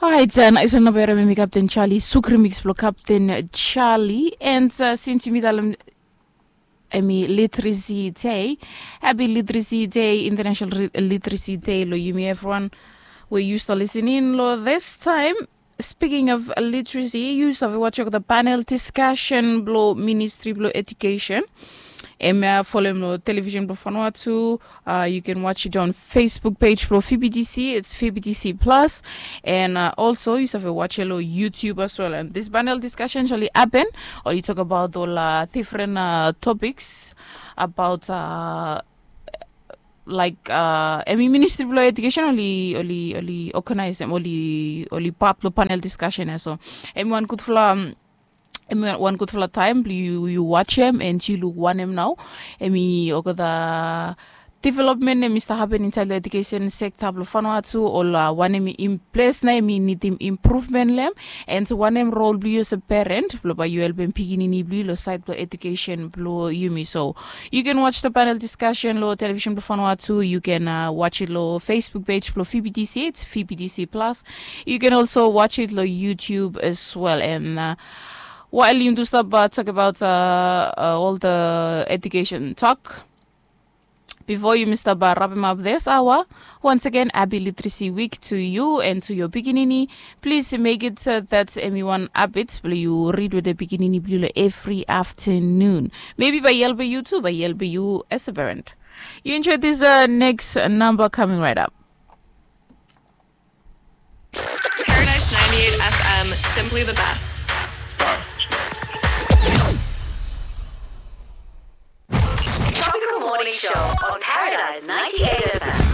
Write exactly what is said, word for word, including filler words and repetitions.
Orait, nais ol namba ya, hemi Captain Charlie, suk remix blong Captain Charlie. And since yumi talem hemi Literacy Day, happy Literacy Day, International Literacy Day long yumi evriwan we yu stap lisening long this time. Speaking of literacy, yu save watch olgeta panel discussion blong Ministry blong Education. Hemia folem long television blong Vanuatu. Yu can watch it on Facebook page blong V B T C, it's V B T C Plus. And also yu save watch long YouTube as well. And this panel discussion oli happen, oli tokbaot ol different topics about laik hemi Ministry blong Education oli, oli, oli organizem, oli, oli part blong panel discussion ya. So hemi wan gudfala, hemi wan gudfala taem blong yu, yu watchem and yu luk wanem nao hemi olgeta development hemi stap hapen insaed long education sector blong Vanuatu, ol wanem hemi ples nao hemi nidim improvement long hem, and wanem rol blong yu olsem parent blong bae yu helpem pikinini blong yu long saed blong education blong yumi. So you can watch the panel discussion long television blong Vanuatu. You can watch it long Facebook page blong V B T C, it's V B T C Plus. You can also watch it long YouTube as well. And wael yumi tu stap tokbaot ol the education talk, bifo yumi stap rapem ap this hour, once again, happy Literacy Week to you and to your pikinini. Please make it that hemi wan habit blong yu read wetem pikinini blong yu long evri afternoon. Maybe bae i helpem yu tu, bae i helpem yu as a parent. Yu enjoy this next number coming right up. Paradise ninety-eight F M, simply the best. Tropical Morning Show on Paradise ninety-eight F M.